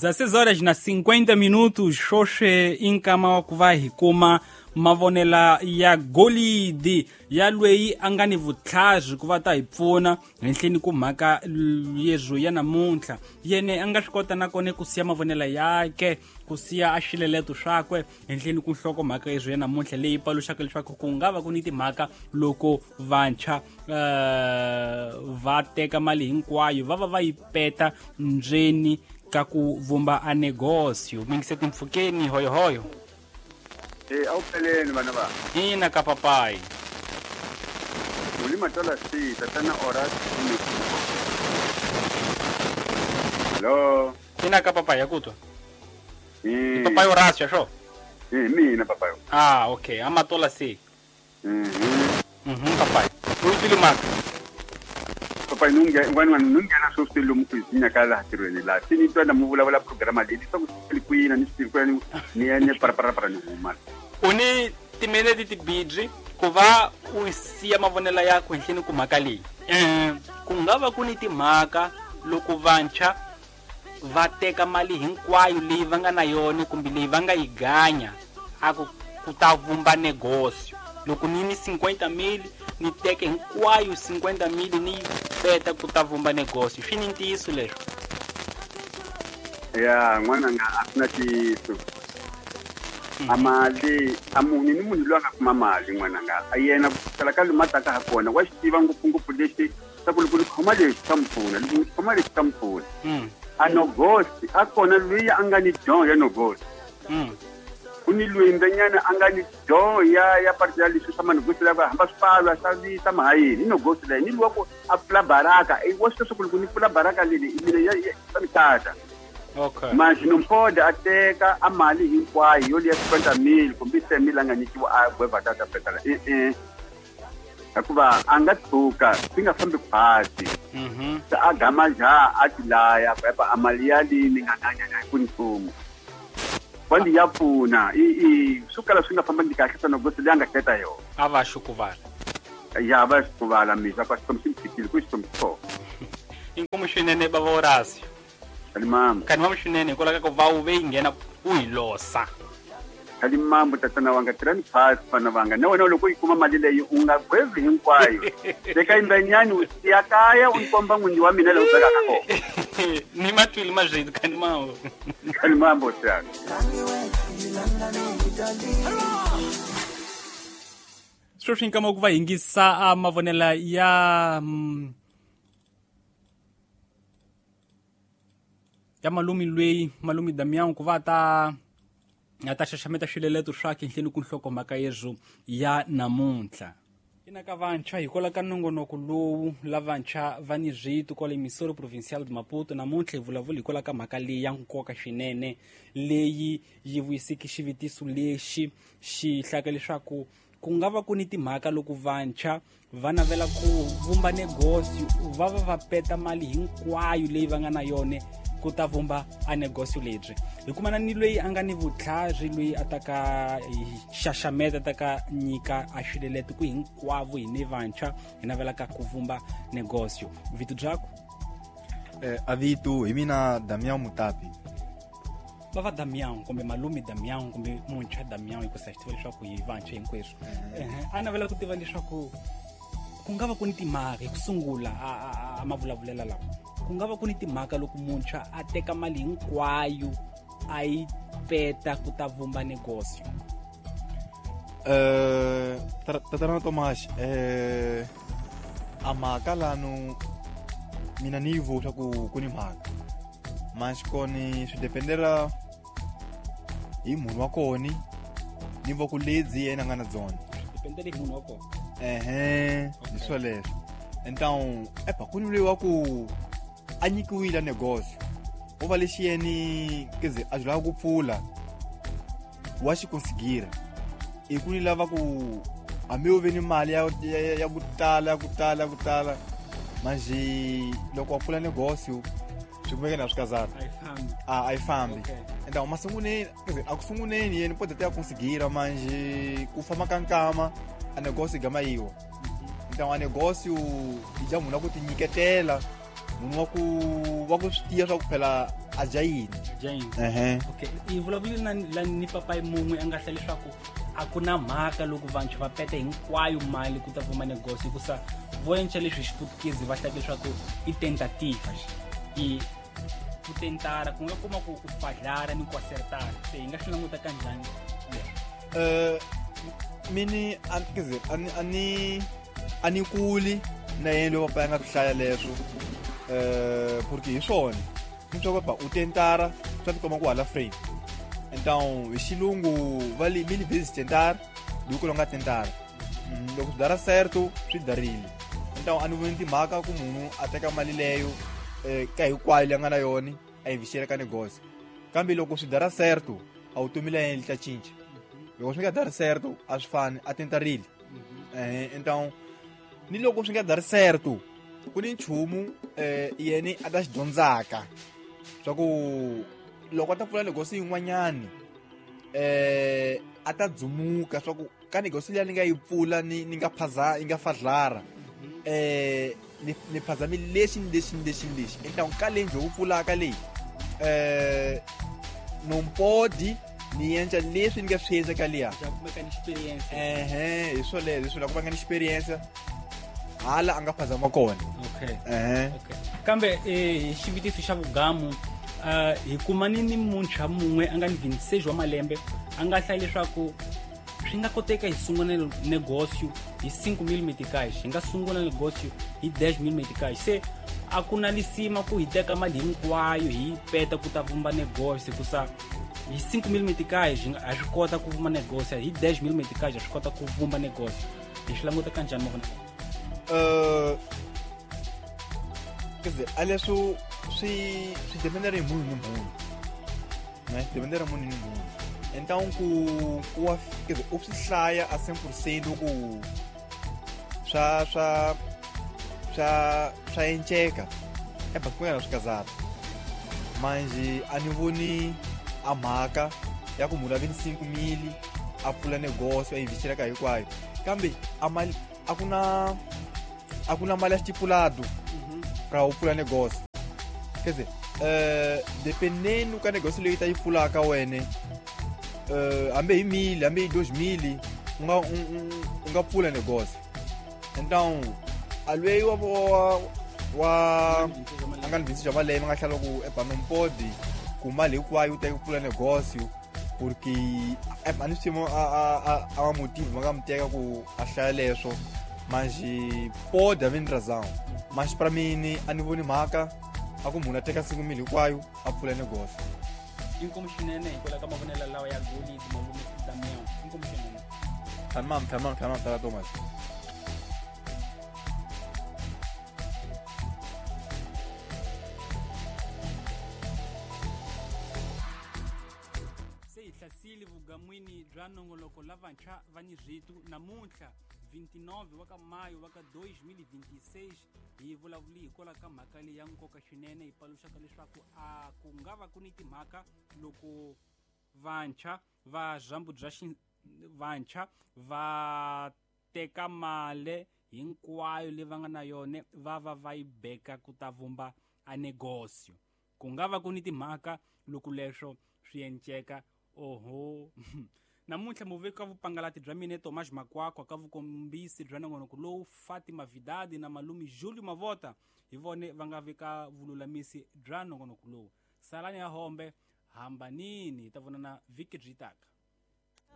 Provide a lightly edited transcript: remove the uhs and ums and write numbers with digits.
16 horas na 50 minutos, xoxe i nkama wa ku va hi kuma mavonela ya golidi ya lweyi a nga ni vutlhari ku va ta hi pfuna henhleni ku mhaka yezwo ya namuntlha. Yene a nga swi kota nakona ku siya mavonela yake, ku siya a xileleto swakwe henhleni ku nhloko mhaka yezwo ya namuntlha leyi paluxaka leswaku ku nga va ku ni timhaka loko vantshwa va teka mali hinkwayo va va va yi peta ndzeni ka ku vumba a negócio. Mingise timpfukeni hoyohoyo. A wu peleni vana va. Ina ka papai. Mulima tola si tatana Horace. Hello. Ina ka papai ya kutwa. Papai Horacio xo? Mina papai. Ah, okay. Amatola si. Papai. U twile mhaka? Papai nunghena swo swi lomu ku hi nyaka laha tirhweni laha se ni twa na mu vulavula programa leyi leswaku swi kwini ni swi kwini ni ya ni parapara ni huma. U ni timinete tibirhi ku va u siya mavonelo yakwe henhleni ku mhaka leyi. Ku nga va ku ni timhaka loko vantshwa va teka mali hinkwayo leyi va nga na yona kumbe leyi va nga yi ganya a ku ku ta vumba negócio. Loko ni ni 50 mil ni teke hinkwayo 50 mil ni yi peta ku ta vumba negócio. Swi ni ntiyiso leswo? Ya n'wananga a swi na ntiyiso. A mali a munhu ni munhu loyi a nga kuma mali n'wananga a yena ku sukela ka lomu a taka ha kona wa xi tiva ngopfungopfu lexi swa ku loko ni khoma lexi xa mi pfuna, loko ni khoma lexi xa mi pfuna. A nogosi a kona loyi a nga ni don ya nogosi. Ku ni loyi mbenyana a nga ni don ya parte ya leswi swa manogosi lava hamba swipalo a xavisa mahayeni i nogosi leyi ni luwa ku a pfula baraka wa swi tiva ku loko ni pfula baraka leli mina ya swa ni tata. Okay. Manje nompoda a teka a mali hinkwayo yo liya 50 mil kumbe 10 mil a nga nyikiwa a gweva tata petala hikuva a nga tshuka swi nga fambi khwati. Se a gama ja a ti laya ku epa a mali ya lini nga nganyanya hi ku nchumu. Kwandi ya pfuna i swo kala swi nga fambangi kahle swa nogosi leyi a nga keta yona. A va xukuvala. Ya va xukuvala misa kwa xikwembu xi mi tshikile ku xikwembu xi kona. Inkomu swinene bava Horacio. Khalimambo. Khalimambo swinene hikwalaho ka ku va u ve yi nghena u hi losa. Khalimambo tatana wanga tirhani phasi vana vanga na wena loko u yi kuma mali leyi u nga gwevi hinkwayo. Teka yimbenyani u siya kaya u komba n'winyi wa mina leyi u vekaka kona. Ni matwile mazvitu Khalimambo. Khalimambo siyana. Sweswi nkama ku va yingisa mavonela ya ya malumi lweyi malumi Damian ku va ta a ta xaxameta swileleto swakhe henhleni ku nhlokomhaka yezwo ya namuntlha. Ina ka vantshwa hikwalaho ka nongonoko lowu lavantshwa va ni zwito kwale Emissora Provincial de Maputo namuntlha hi vulavula hikwalaho ka mhaka leyi ya nkoka swinene leyi yi vuyiseke xivutiso lexi xi hlaka leswaku ku nga va ku ni timhaka loko vantshwa va navela ku vumba negócio va va va peta mali hinkwayo leyi va nga na yona ku ta vumba a negócio lebyi. Hi kumana ni loyi a nga ni vutlhari loyi a ta ka hi xaxameta ta ka nyika a xilelete ku hinkwavo hi ni vantshwa hi navelaka ku vumba negócio. Vito byakwe? A vito hi mina Damian Mutapi. Va va Damian kumbe malume Damian kumbe muntshwa Damian hikusa xi tiva leswaku hi vantshwa hinkweswo. A navela ku tiva leswaku ku nga va ku ni timhaka hi ku sungula a mavulavulela lawa. Ku nga va ku ni timhaka loko muntshwa a teka mali hinkwayo a yi peta ku ta vumba negócio. Tatana Tomas, a mhaka lano mina ni yi vula ku ku ni mhaka. Mas koni swi dependela hi munhu wa koni ni va ku ledzi yena nga na dzona. Dependela hi munhu wa kona. Hi swoleswo. Então, epa ku ni loyi wa ku a nyikiwile negócio. U va lexi yeni quer dizer, a lava ku pfula wa xi conseguir. I ku ni lava ku hambi u ve ni mali ya ku tala ya ku tala ya ku tala manje loko wa pfula negócio swi kumeke na swi kazana. A yi fambi. Então masunguleni, quer dizer, a ku sunguleni yena pode até conseguir manje ku famba ka nkama a negócio gama yiwa. Então a negócio i ja munhu ku tinyiketela Munhu wa ku swi tiva swa ku phela a dya yini. Jane. Ehe. Okay, i vulavule na la ni papayi mun'we a nga hla leswaku a ku na mhaka loko vantshwa va peta hinkwayo mali ku ta vuma negocio, hikusa vo enca leswi hi xiputukezi va hlaya leswaku i tentativa, i ku tentara, ku nga kuma ku u fadlara ni ku acertara. Se hi nga swi languta kanjhani leswo? Mini quer dizer, a ni kuli na yena loyi papa ya nga swi hlaya leswo, porque hi swona ni twa ku u tentara swa tikomba ku hala frame. Então hi xilungu va li mil vezes tentar do que nga tentara. Loko swi dara certo, swi darile. Então a ni voni timhaka ku munhu a teka mali leyo ka hinkwayo leyi a nga na yona a yi ka negocio, kambe loko swi dara certo, a vutomi la yena li ta cinca. Loko swi nga dari certo, a swi fani a tentarile. Então ni loko swi nga dari certo, ku ni nchumu yena a ta xi dyondzaka swa ku loko a ta pfula negosi yin'wanyani, a ta dzumuka swa ku ka negosi liya ni nga yi pfula ni nga phaza yi nga fadlara, ni phazami lexi ni lexi ni lexi ni lexi. Então ka leyi njhe ku pfulaka leyi, não pode ni endla leswi ni nga swi endla ka liya. Ja kumeka ni experience. Ehe, hi swoleswo, hi swona ku va nga ni experience hala a nga phazama kona. Okay. Ehe. Okay, kambe hi xivutiso xa vugamu, hi kumani ni muntshwa mun'we a nga ni 26 wa malembe a nga hlaya leswaku swi nga koteka hi sungula negócio hi 5 mil meticais, hi nga sungula negócio hi 10 mil meticais. Se a ku na lisima ku hi teka mali hinkwayo hi yi peta ku ta vumba negócio, hikusa hi 5 mil meticais ha swi kota ku vumba negócio, hi 10 mil meticais ha swi kota ku vumba negócio. Hi swi languta kanjhani mavonelo? Quer dizer, a leswo swi dependere hi munhu ni munhu, né, dependere hi munhu ni munhu. Então ku wa, quer dizer, u swi hlaya a 100% ku swa enceka eba ku nga na swi kazata manje, a ni voni a mhaka ya ku munhu a vi ni 5 mili a pfula negocio a yi vhixela ka hinkwayo, kambe a mali a ku na mali ya stipulado pra u pfula negócio. Quer dizer, dependendo ka negócio leyi ta yi pfulaka wene, hambi hi mili, hambi hi 2 mili, u nga pfula negócio. Então a lweyi wa a nga ni 26 wa malembe a nga hlala ku epa não pode ku mali hinkwayo u teka ku pfula negócio, porque a ni swi a ma motivo ma nga mi teka ku a hlaya leswo. Mas pode haver razão, mas para mim a ni voni mhaka a ku munhu a teka 5 mili hinkwayo a pfula negócio. Inkomu swinene hikwalaho ka mavonelo lawa ya golidi, malume Damião. Inkomu swinene. Tamam, tamam, tamam, tala Thomas. Se hi hlasile vugamwini bya nongoloko lavantshwa va ni rito namuntlha 29 wa ka mayo wa ka 2026. Hi vulavuli hikwalaho ka mhaka leyi ya nkoka swinene, hi paluxaka leswaku a ku nga va ku ni timhaka loko vantshwa va zhambu bya vantshwa va teka mali hinkwayo leyi va nga na yona va yi beka ku ta vumba a negocio. Ku nga va ku ni timhaka loko leswo swi enceka. Oho, namuntlha muveki wa vupangalati bya mina Tomas Makwakwa, ka vukombisi bya nongonoko lowu Fatima Vidadi na malume Julio Mavota hi vone va nga veka vululamisi bya nongonoko lowu. Salani ya hombe, hambanini, hi ta vonana vhiki byi taka.